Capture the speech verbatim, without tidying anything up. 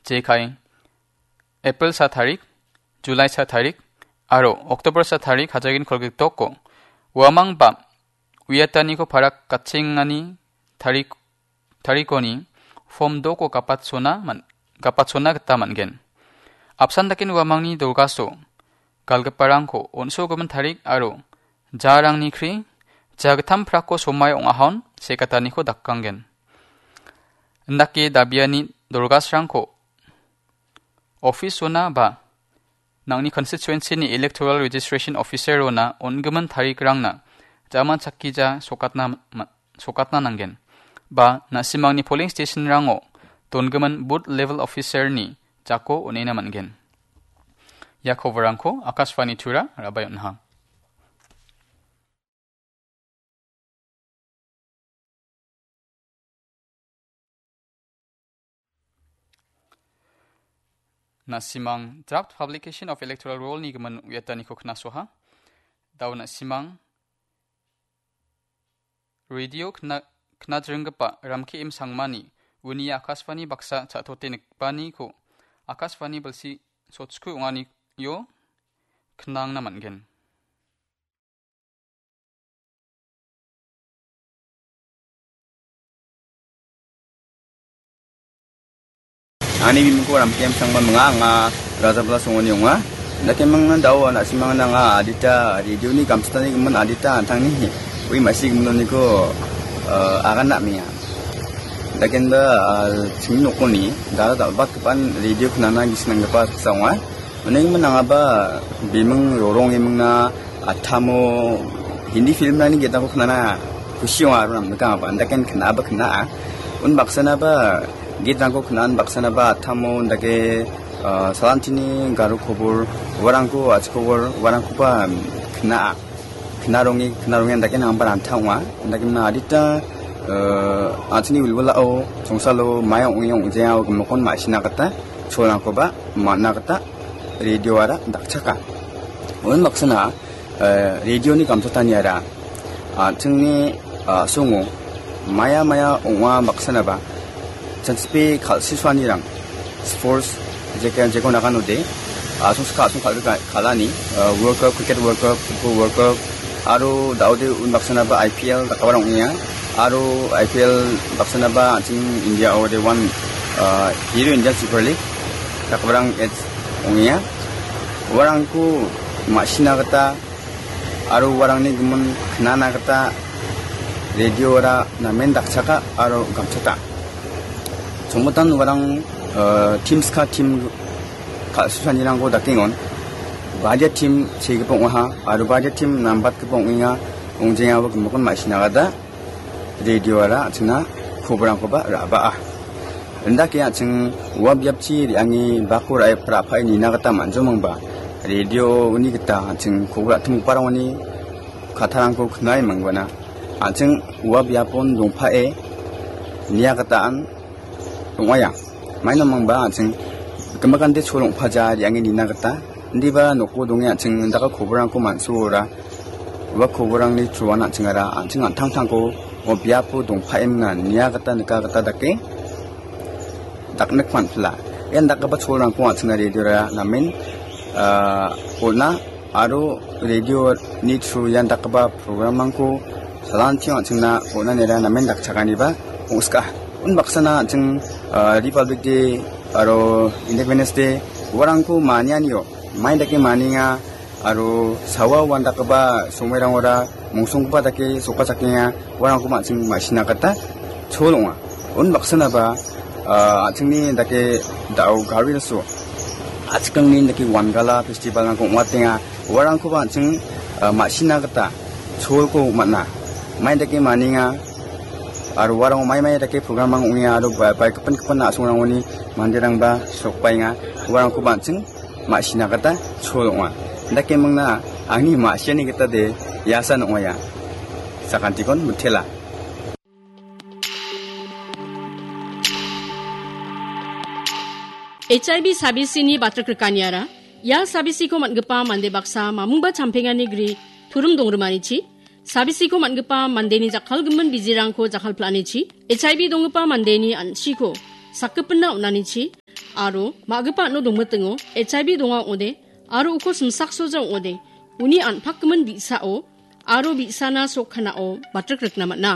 jekai April sa tarik, July sa tarik, aro October sa tarik hajagin kolgriktoko uamang ba uiataniko parak gatchengani tarik-, tarikoni form doko gapatchona man-, gapatchona gita man·gen. Apsan daken uamangni dolgaso galgiparangko on·sogimin tarik aro jarangni kri jagittam prako somai ong·ahon sekataniko dakanggen. Indake dabiani dolgasrangko office-ona ba nangni constituency-ni electoral registration officer-ona on·gimin tarikrangna jaman chakkija sokatna ma-, sokatna nanggen. Ba na·simangni polling station-rango dongimin booth level officer-ni jako on·ena man·gen. Ia koborangko Akashvani Tura rabai on·aha. Na·simang draft publication of electoral roll-ni gimin uiataniko knasoha. Dao na·simang radio kna-, knatringgipa Ramki M Sangmani uni Akashvani baksa cha·tote nikbaniko Akashvani bilsi sochku ong·anio knangna man·gen. Ani bimingko Ramki M Sangma minga, anga Rajabla songoni ong·a. Indakemingna dao na·simangna anga adita radio-ni gamsatani gimin adita an·tangni ui ma·si giminoniko, eh, aganna amenga. Indakemda, ah, chingni nokoni dal·a dal·batgipan radio knana gisik nanggipa saksa ong·a. Uning mingaba biming rorong emingna atamo Hindi film-rangni gitako knana kusi ong·a aro namnikangaba. Andaken knaba kna·a. Unbaksanaba gitrangko kna·a, unbaksanaba atamo undake, ah, salantini garo kobor, uarangko, a·chik kobor, uarangkoba kna·a. Knaronge, knaronge andake nangba ranta ong·a. Andake mingna adita, eh, an·chingni wilwilao, songsalo, maia ong·e ong·jea, gimikon ma·sina gita, cholrangkoba man·a gita, radio-ara dakchaka. Unbaksana, eh, radio-ni gamsataniara, an·chingni, ah, a·songo, maia maia ong·a baksanaba, Chanchipe kal·susuanirang, sports, jeke, jeko naganode, a·song sika a·song kal-, kal-, kal·ani, ah, World Cup, Cricket World Cup, Football World Cup, aro daode unbaksanaba I P L dakgiparang ong·enga, aro I P L baksanaba an·ching India-o de one, ah, Hero Indian Super League dakgiparang ong·enga. Uarangko ma·sina gita aro uarangni gimin knana gita radio-ara namen dakchaka aro gamchaka. Chongmotan uarang, eh, team ska team kal·susanirangko dakengon. Badia team segipa ong·aha aro badia team nambatgipa ong·enga, ong·jengaba gimikon ma·sina gita radio-ara an·chingna koborangkoba ra·baa. Indake an·ching ua biapchi re·ange bako ra·e, ra·pae nina gita man·jomangba, radio-ni gita an·ching kobor ra·timgiparangoni kattarangko knae mangbana. An·ching ua biapon dongpae nia gita an ong·aia. Maino mangba an·ching gimikante chol ong·paja re·ange nina gita. Indiba noko donge an·ching indaka koborangko man·suora. Ua koborangni through-an an·chingara an·ching an·tangtangko o biapo dongpaemna nia gita nika gita dake daknik man·pila. Ian dakgipa cholrangko an·chingna radio-ra namen, ah, on·a aro radio-ni through ian dakgipa program-rangko salantio an·chingna on·anira namen dakchaganiba ong·sika. Unbaksana an·ching, ah, Republic Day aro Independence Day uarangko manianio mai dake manienga aro sawa uandakgipa somoirangora mongsonggipa dake sokachakenga, uarangko an·ching ma·sina gita chol ong·a. Unbaksanaba, ah, an·chingni dake dao Garo Hills-o a·chikangni dake Wangala festival-rangko ong·atenga, uarangkoba an·ching, ah, ma·sina gita cholko man·a. Mai dake manienga aro uarang mai mai dake program-rang ong·enga aro ba-, baik gipin gipin a·songrangoni manderangba sokbaenga, uarangkoba an·ching ma·sina gita chol ong·a. Indake mingna angni ma·siani gita de iasan ong·aia. Sakantikon mitela. H I V sabisini batrikrikaniara, ia sabisiko man·gipa mande baksa mamungba champengani gri turim dongrimanichi, sabisiko man·gipa mandeni jakkalgimin bijirangko jakkalpil·anichi, H I V donggipa mandeni an·chiko sakgipinna on·anichi, aro ma·gipa an·o dongmitingo H I V donga ong·ode aro uko simsaksoja ong·ode uni an·pakgimin bi·sao aro bi·sana sokkanao batrikrikna man·a.